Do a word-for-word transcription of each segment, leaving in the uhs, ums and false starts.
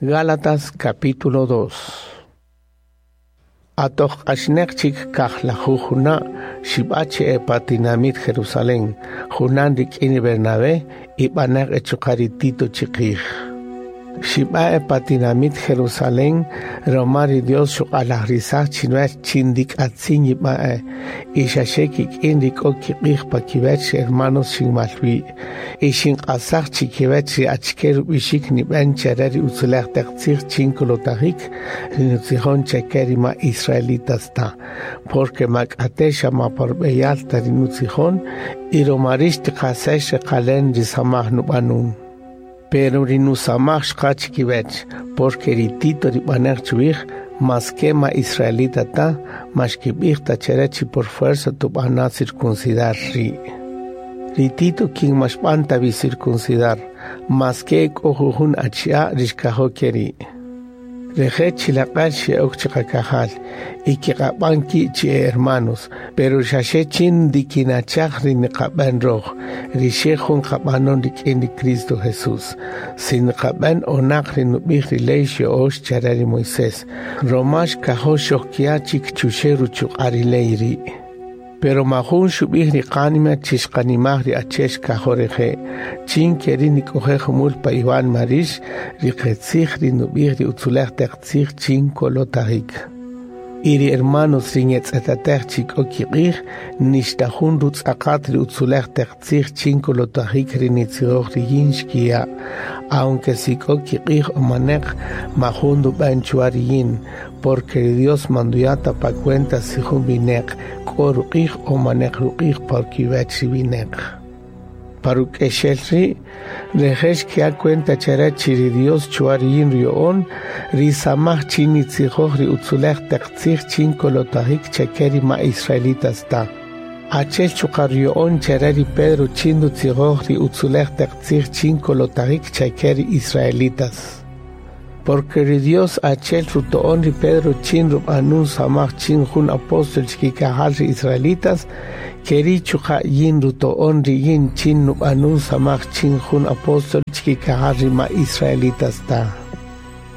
Gálatas capítulo dos. Atoq q'axneq chik kajlajuj juna' xib'a chi e pa tinamit Jerusalén, junan rik'in ri Bernabé y b'aneq e chuqa' ri Tito chiqij. Xib'a e pa tinamit Jerusalén, roma ri Dios xuq'alajrisaj chinuwech chin ndik'atzin yib'a e, y xaxe kik'in ri k'o kiq'ij pa kiwech ri hermanos xinmalwi', y xinq'asaj chikiwech ri achike rub'ixik nib'en chare ri utzulej taq tzij chin kolotajik ri nutzijon chake ri ma israelitas ta, porque ma k'ate xa ma pa rub'eyal ta ri nutzijon, y roma rix tiqasex reqalen ri samaj nub'anun. Pero ri nusamaj xqa chikiwech, porque ri Tito ri b'aneq chuwij, mas que ma israelita ta, ma xkib'ij ta chere chi por fuerza tub'ana circuncidar ri'. Ri Tito kin ma xb'an ta vi circuncidar, mas que k'o jujun achi'a' ri xkajo keri'. Reje' chilaq'al xe'ok chiqakajal, y kiq'ab'an ki' chi e hermanos, pero xaxe chin ndikinachaj ri niqab'en roj, ri xe jun qab'anon rik'in ri Cristo Jesús. Si niqab'en onaq ri nub'ij ri ley xyo'ox chare ri Moisés, roma xkajo xojkia chik chuxe ruchuq'a' ri ley ri'. Pero majun xub'ij ri qánima chi xqanimaj ri ache xkajo reje', chin keri nik'oje jumul pa Iwan Marix, ri qetzij ri nub'ij ri utzulej taq tzij chin kolotajik. Y ri hermanos ri nyetz'etatej chi k'o kiq'ij, nixta jun rutz'aqat ri utzulej taq tzij chin kolotajik ri nitzijoj ri yin xkiya', aunque si k'o kiq'ij o maneq, majun ndub'en chwa ri yin, porque ri Dios manduyata pa cuenta si jun wineq k'o ruq'ij o maneq ruq'ij por kiwech ri wineq. Paruk'exel ri', reje' xkiya' cuenta chare chi ri Dios chwa ri yin ruya'on, ri samaj chin nitzijoj ri utzulej taq tzij chin kolotajik chake ri ma israelitas ta. Achel chuqa' ruya'on chare ri Pedro chin nutzijoj ri utzulej taq tzij chin kolotajik chake ri israelitas. Porque ri Dios achel ruto'on ri Pedro chin rub'anun samaj chin jun apóstol chikikajal ri israelitas, keri chuqa' yin ruto'on ri yin chin nub'anun samaj chin jun apóstol chikikajal ri ma israelitas ta.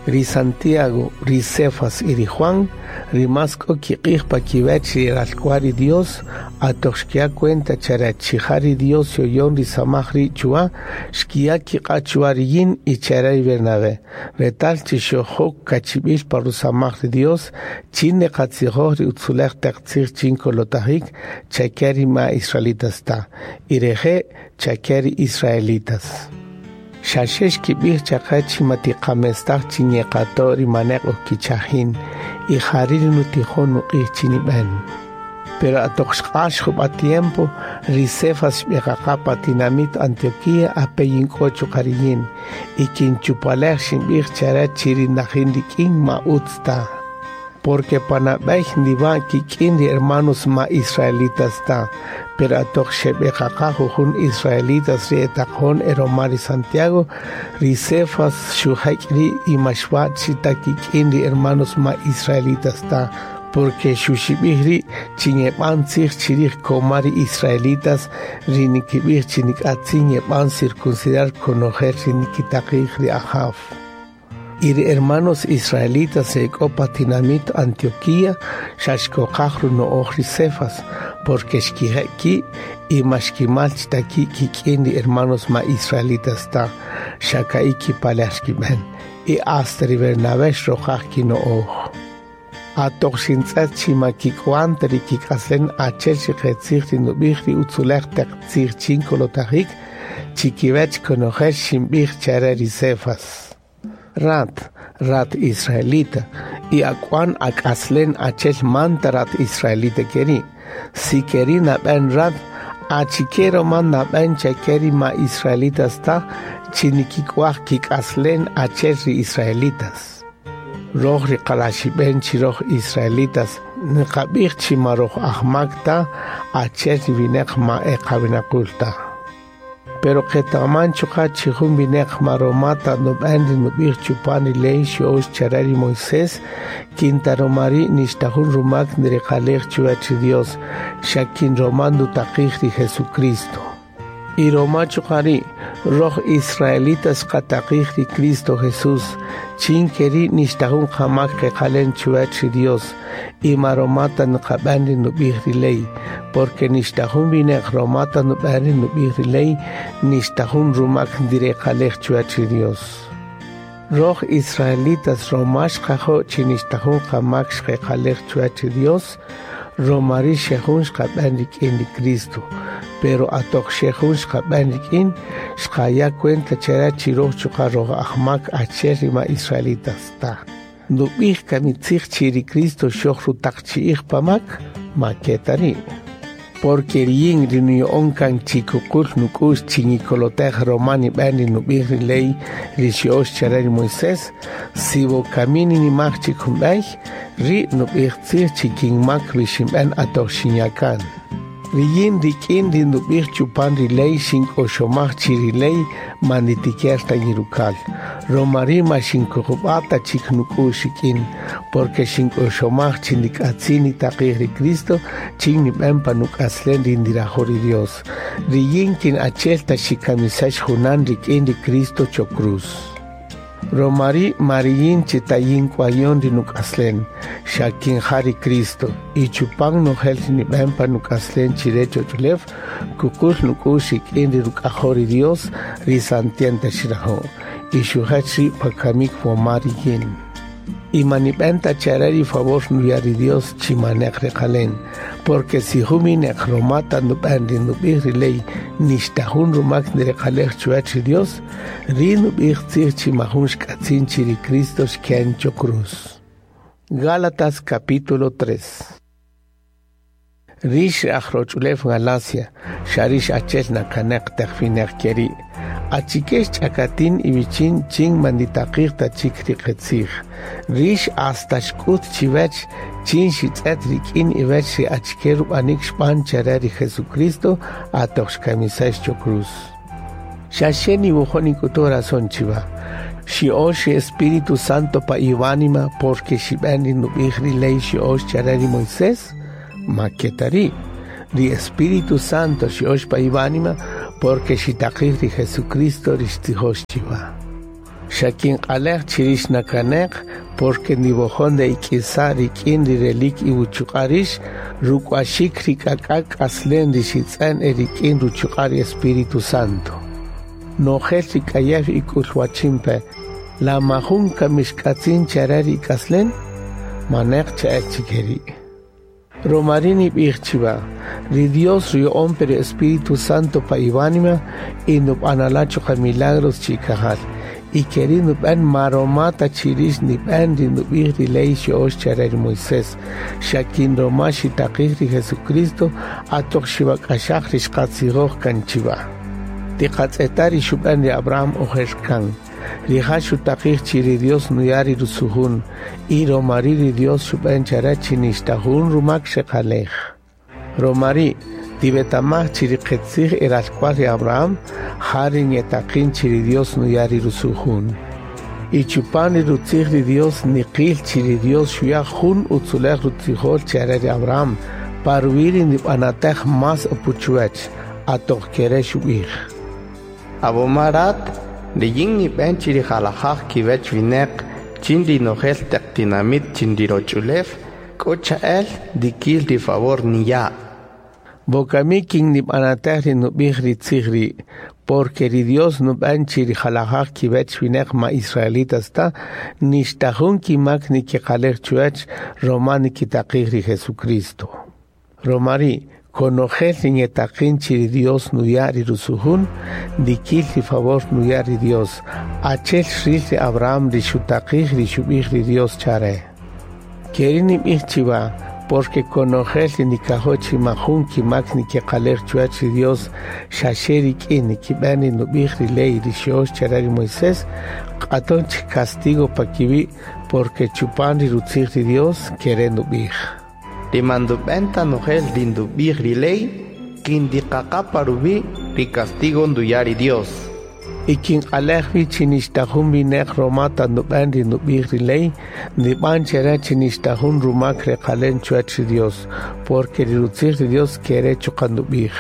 Ri Santiago, ri Cefas y ri Juan, ri mas k'o kiq'ij pa kiwech ri ralk'wal ri Dios, atoq xkiya' cuenta chare chi ja ri Dios yoyon ri samaj ri' chuwa, xkiya' kiq'a' chuwa ri yin y chare ri Bernabé, retal chi xojok kachib'il pa rusamaj ri Dios, chin neqatzijoj ri utzulej taq tzij chin kolotajik chake ri ma israelitas ta, y reje' chake ri israelitas. Xaxe xkib'ij chaqe chi matiqamestaj chi ñeqato' ri maneq ojkichajin, y jari' ri nutijon nuq'ij chi nib'en. Pero atoq xq'ax jub'a tiempo, ri Cefas xb'eqaqa pa tinamit Antioquía ape yink'o chuqa' ri yin, y kinchupalej xinb'ij chare chi ri najin rik'in ma utz ta. Porque panab'ey ndiba' kik'in ri hermanos ma israelitas ta, pero atoq xeb'eqaqa jujun israelitas ri etaqjon eroma ri Santiago, ri Cefas xujek' ri' y ma xwa' chita kik'in ri hermanos ma israelitas ta, porque xuxib'ij ri' chi ñeb'an tzij chirij koma ri israelitas ri nikib'ij chi nik'atzin ñeb'an circuncidar konojel ri nikitaqij ri Ajaw. Y ri hermanos israelitas se k'o pa tinamit Antioquía, xa xkoqaj runo'oj ri Cefas, porque xkije' ki' y ma xkimal chita ki' kik'in ri hermanos ma israelitas ta, xa ka'i kipalej xkib'en, y hasta ri Bernabé xroqaj kino'oj. Atoq xintz'et chi ma kik'wan ta ri kik'aslen achel ri qetzij ri nub'ij ri utzulej taq tzij chin kolotajik, chikiwech konojel xinb'ij chare ri Cefas. Rat, rat israelita, y ak'wan ak'aslen achel manta rat israelita keri. Si keri nab'en rat, achikero man nab'en chakeri ma israelitas ta, chinikik'uaj kik'aslen achel ri israelitas. Roj ri qalaxib'en chi roj israelitas, niqab'ij chi ma roj ajmak ta, achel ri wineq ma eqawinaqul ta. Pero qetaman chuqa' chi jun wineq maromata nub'en ri nub'ij chupan ri ley xyo'ox chare ri Moisés, kinta roma ri' nixta jun rumak nriqalej chuwach ri Dios, xa kin roma ndutaqij ri Jesucristo. Y roma chuqa' ri' roj israelitas qataqij ri Cristo Jesús, chin keri' nixta jun qamak qeqalen chuwach ri Dios, y ma roma ta nqab'an ri nub'ij ri ley, porque nixta jun wineq roma ta nub'an ri nub'ij ri ley, nixta jun rumak ndireqalej chuwach ri Dios. Roj israelitas roma xqajo' chi nixta jun qamak xqeqalej chuwach ri Dios, roma ri' xejun xqab'an rik'in ri Cristo. Pero atoq xejun xqab'an rik'in, xqaya cuenta chara chi roj chuqa' roj ajmak achel ri ma israelitas ta. Nub'ij kamitzij chi ri Cristo xoj rutaqchi'ij pamak, ma ke ta ri'. Porque riyin ri nuya'on kan chi kuqul nuk'u'x chi nikolotej roma nib'an ri nub'ij ri ley ri xyo'ox chare ri Moisés, si wokami ninimaj chik jun b'ey, ri' nub'ij tzij chi kinmak ri xinb'an atoq xinyakan. Riyin rik'in ri nub'ij chupan ri ley xink'oxomaj chi ri ley ma nitiker ta yirukal. Roma ri' ma xinkuqub'a ta chik nuk'u'x rik'in, porque xink'oxomaj chi nik'atzin nitaqij ri Cristo chin nib'an pa nuk'aslen ri ndirajo' ri Dios. Riyin kin achel ta xikamisax junan rik'in ri Cristo cho cruz. Roma ri' mariyin chi tayin k'wayon ri nuk'aslen, xa kin ja ri Cristo, y chupan nojel ri nib'an pa nuk'aslen chire choch'ulew, kuqul nuk'u'x rik'in ri ruk'ajo' ri Dios ri santienta xirajo', y xujach ri' pa kamik woma riyin. Y ma nib'an ta chare ri favor nuya' ri Dios chi maneq reqalen, porque si jun wineq roma ta nub'an ri nub'ij ri ley nixta jun rumak ndireqalej chuwach ri Dios, ri nub'ij tzij chi majun xk'atzin chi ri Cristo xken cho cruz. Gálatas capítulo tres. Rix ajroch'ulew Galacia, xa rix achel nakaneq taq wineq keri'. Achike xch'akatin iwichin chin manditaqij ta chik ri qetzij. Rix hasta xk'ut chiwech chin xitz'et rik'in iwech ri achike rub'anik xb'an chare ri Jesucristo atoq xkamisax cho cruz. Xa xe niwojo' nik'utu razón chiwa. Xi'ox ri Espíritu Santo pa iwánima porque xib'an ri nub'ij ri ley xi'ox chare ri Moisés, ma ke ta ri'. Ri Espíritu Santo xi'ox pa iwánima porque xitaqij ri Jesucristo ri xtzijox chiwa. Xa kinq'alej chi rix nakaneq porque niwojon de ik'isa' rik'in ri relik iwuchuq'a' rix ruk'uaxik ri k'ak'ak k'aslen ri xitz'en e rik'in ruchuq'a' ri Espíritu Santo. Nojel ri k'ayew ik'ulwachinpe, la majun kamixk'atzin chare ri ik'aslen, maneq cha'el chikeri'. Roma ri' nib'ij chiwa, ri Dios ruya'on pe ri Espíritu Santo pa iwánima y nub'anala' chuqa' milagros chi ikajal. Y keri' nub'an ma roma ta chi rix nib'an ri nub'ij ri ley xyo'ox chare ri Moisés, xa kin roma xitaqij ri Jesucristo atoq xiwak'axaj ri xqatzijoj kan chiwa. Tiqatz'eta ri xub'an ri Abraham ojer kan. Rija' xutaqij chi ri Dios nuya' ri rusujun, y roma ri' ri Dios xub'an chare chi nixta jun rumak xeqalej. Roma ri' tiwetamaj chi ri qetzij eralk'wal ri Abraham, ja ri nyetaqin chi ri Dios nuya' ri rusujun. Y chupan ri rutzij ri Dios niqil chi ri Dios xuya' jun utzulej rutzijol chare ri Abraham, pa ruwi' ri nib'anatej más apuchuwach, atoq kere xub'ij. Abomarat, riyin nib'an chi ri jalajaj kiwech wineq chin ri nojel taq tinamit chin ri roch'ulew, k'o cha'el dikil ri favor niya'. Wokami kin nib'anatej ri nub'ij ri tzij ri', porque ri Dios nub'an chi ri jalajaj kiwech wineq ma israelitas ta, nixta jun kimak nikiqalej chuwach roma nikitaqij ri Jesucristo. Roma ri' konojel ri nyetaqin chi ri Dios nuya' ri rusujun, dikil ri favor nuya' ri Dios, achel xril ri Abraham ri xutaqij ri xub'ij ri Dios chare. Keri' nib'ij chiwa, porque konojel ri nikajo' chi majun kimak nikiqalej chuwach ri Dios, xa xe rik'in nikib'an ri nub'ij ri ley ri xyo'ox chare ri Moisés, q'aton chik castigo pa kiwi', porque chupan ri rutzij ri Dios kere nub'ij. Ri mandub'an ta nojel ri ndub'ij ri ley, kin ndiqaqa pa ruwi' ri castigo nduya' ri Dios. Y kin q'alej wi chi nixta jun wineq roma ta nub'an ri nub'ij ri ley, nib'an chare chi nixta jun rumak reqalen chuwach ri Dios, porque ri rutzij ri Dios kere chuqa' nub'ij.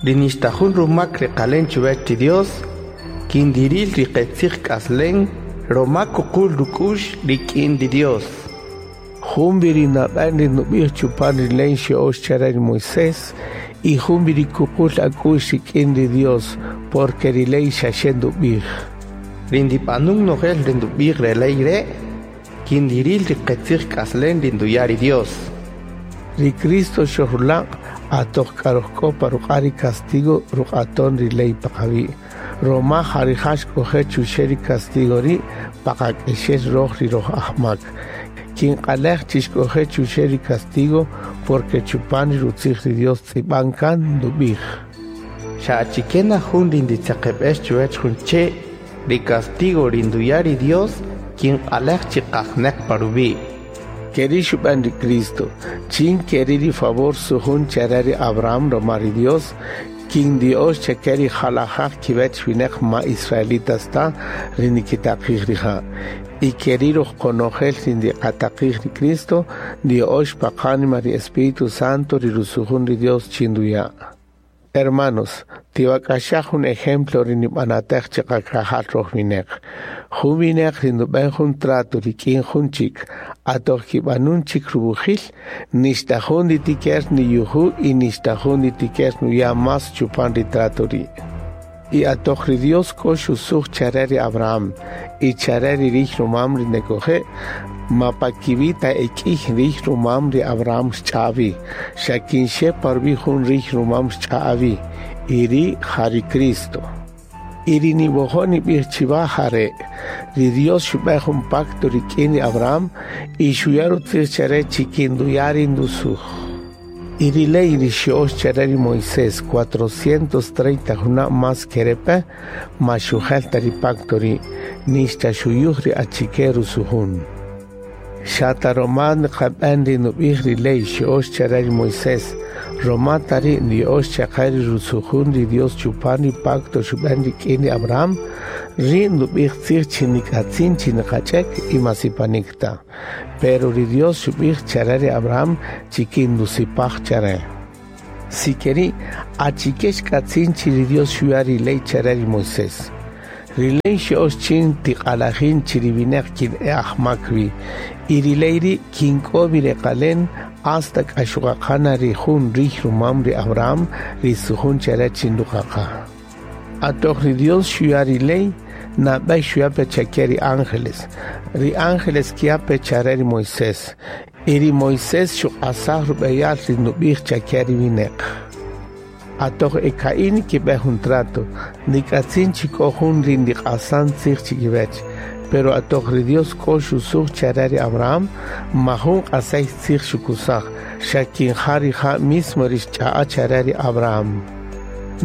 Ri nixta jun rumak reqalen chuwech ri Dios, kin diril ri qetzij k'aslen, roma kuqul ruk'ux rik'in ri Dios. Jun wi ri nab'en ri nub'ij chupan ri ley xya'ox chare ri Moisés, y jun wi ri kuqul ak'ux rik'in ri Dios, porque ri ley xaxe ndub'ij. Ri ndib'anun nojel ri ndub'ij re ley re', kin diril ri qetzij k'aslen ri nduya' ri Dios. Ri Cristo xojrulaq' atoq k'arojk'o pa ruq'a' ri castigo ruq'aton ri ley paqawi'. Roma ja rija' xk'oje' chuxe' ri castigo ri' paqak'exel roj ri roj ajmak. Kin q'alej chi xk'oje' chuxe' ri castigo porque chupan ri rutzij ri Dios tz'ib'an kan ndub'ij. Xa achike na jun ri nditzeqeb'ex chuwech jun che', ri castigo ri nduya' ri Dios kin q'alej chi qajneq pa ruwi'. Keri xub'an ri Cristo, chin keri ri favor sujun chare ri Abraham roma ri Dios, kin Dios chake ri jalajaj kiwech wineq ma israelitas ta ri nikitaqij rija'. Y keri roj konojel ri ndiqataqij ri Cristo, Dios pa qánima ri Espíritu Santo ri rusujun ri Dios chin nduya'. Hermanos, tiwak'axaj jun ejemplo ri nib'anatej chiqakajal roj wineq. Jun wineq ri ndub'en jun trato rik'in jun chik, atoq kib'anun chik rub'ujil, nixta jun nditiker niyuju y nixta jun nditiker nuya' más chupan ri trato ri'. Y atoq ri Dios k'o xusuj chare ri Abraham y chare ri rij rumam ri nekoje', ma pa kiwi' ta ek'ij rij rumam ri Abraham xch'awi, xa kin xe pa ruwi' jun rij rumam xch'awi, y ri' ja ri Cristo. Y ri niwojo' nib'ij chiwa jare', ri Dios xub'en jun pacto rik'in ri Abraham y xuya' rutzij chare chi kin nduya' ri ndusuj. Y ri ley ri xya'ox chare ri Moisés cuatrocientos treinta juna' más kerepe, ma xujel ta ri pacto ri', nixta xuyuj ri achike rusujun. Xa ta roma niqab'en ri nub'ij ri ley xya'ox chare ri Moisés, roma ta ri' niya'ox chaqe ri rusujun ri Dios chupan ri pacto xub'en rik'in ri Abraham, ri' ndub'ij tzij chi nik'atzin chi niqach'ek y ma sipanik ta. Pero ri Dios xub'ij chare ri Abraham chi kin ndusipaj chare. Si keri', achike xk'atzin chi ri Dios xuya' ri ley chare ri Moisés. Ri ley xya'ox chin tiq'alajin chi ri wineq kin e ajmak wi, y ri ley ri' kin k'o wi reqalen hasta k'a xuqaqana ri jun rij rumam ri Abraham ri sujun chare chin nduqaqa. Atoq ri Dios xuya' ri ley, nab'ey xuya' pe chake ri ángeles. Ri ángeles kiya' pe chare ri Moisés, y ri Moisés xuq'asaj rub'eyal ri ndub'ij chake ri wineq. Atoq eka'in kib'en jun trato, nik'atzin chi k'o jun ri ndiq'asan tzij chikiwech, pero atoq ri Dios k'o xusuj chare ri Abraham, ma jun q'asay tzij xukusaj, xa kin ja rija' mismo ri xch'a'a chare ri Abraham.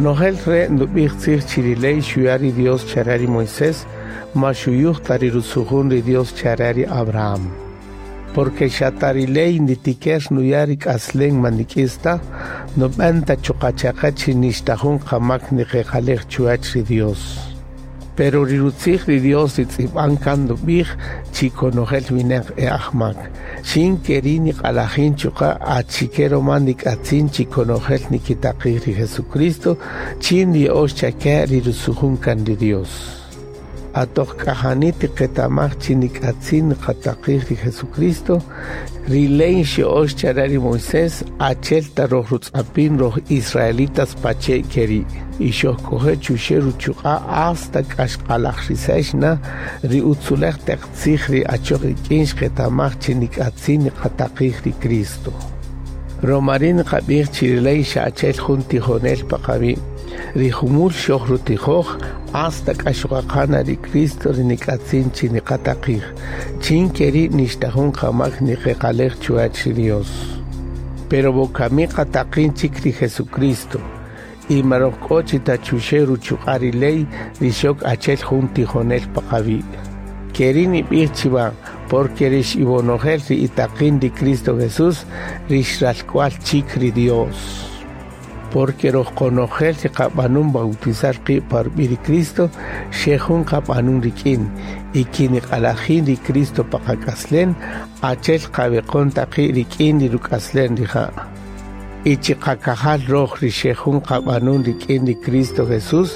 Nojel re' ndub'ij tzij chi ri ley xuya' ri Dios chare ri Moisés, ma xuyuj ta ri rusujun ri Dios chare ri Abraham. Porque xa ta ri ley nditiker nuya' ri k'aslen ma ndik'is ta, nub'en ta chuqa' chaqa chi nixta jun qamak niqeqalej chuwach ri Dios. Pero ri rutzij ri Dios ri tz'ib'an kan ndub'ij chi konojel wineq e ajmak. Xin keri niq'alajin chuqa' achike roma nik'atzin chi konojel nikitaqij ri Jesucristo, chin niya'ox chake ri rusujun kan ri Dios. Atoq k'ajani tiqetamaj chi nik'atzin niqataqij ri Jesucristo, ri ley xya'ox chare ri Moisés achel ta roj rutz'apin roj israelitas pache' keri', y xojk'oje' chuxe' ruchuq'a' hasta k'a xq'alajrisex na ri utzulej taq tzij ri achoq rik'in xqetamaj chi nik'atzin niqataqij ri Cristo. Roma ri' niqab'ij chi ri ley xa achel jun tijonel paqawi', ri jumul xoj rutijoj hasta k'a xuqaqana ri Cristo ri nik'atzin chi niqataqij, chin keri' nixta jun qamak niqeqalej chuwach ri Dios. Pero wokami qataqin chik ri Jesucristo, y ma roj k'o chi ta chuxe' ruchuq'a' ri ley ri xok achel jun tijonel paqawi'. Keri' nib'ij chiwa, porque rix iwonojel ri itaqin ri Cristo Jesús, rix ralk'wal chik ri Dios. Porque roj konojel ri qab'anun bautizar qi' pa rub'i' ri Cristo, xe jun qab'anun rik'in, y kin niq'alajin ri Cristo pa qak'aslen, achel qaweqon taqi' rik'in ri ruk'aslen rija'. Y chiqakajal roj ri xe jun qab'anun rik'in ri Cristo Jesús,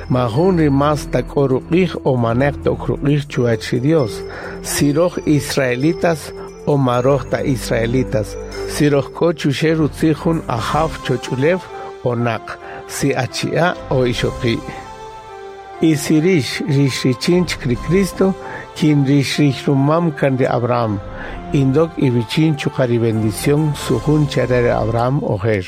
ma jun ri más ta k'o ruq'ij o maneq tok ruq'ij chuwach ri Dios. Si roj israelitas o ma roj ta israelitas, si roj k'o chuxe' rutzij jun ajaw choch'ulew o naq, si achi'a' o ixoqi'. Y si rix rix richin chik ri Cristo, kin rix rix rumam kan ri Abraham, indok iwichin chuqa' ri bendición sujun chare ri Abraham ojer.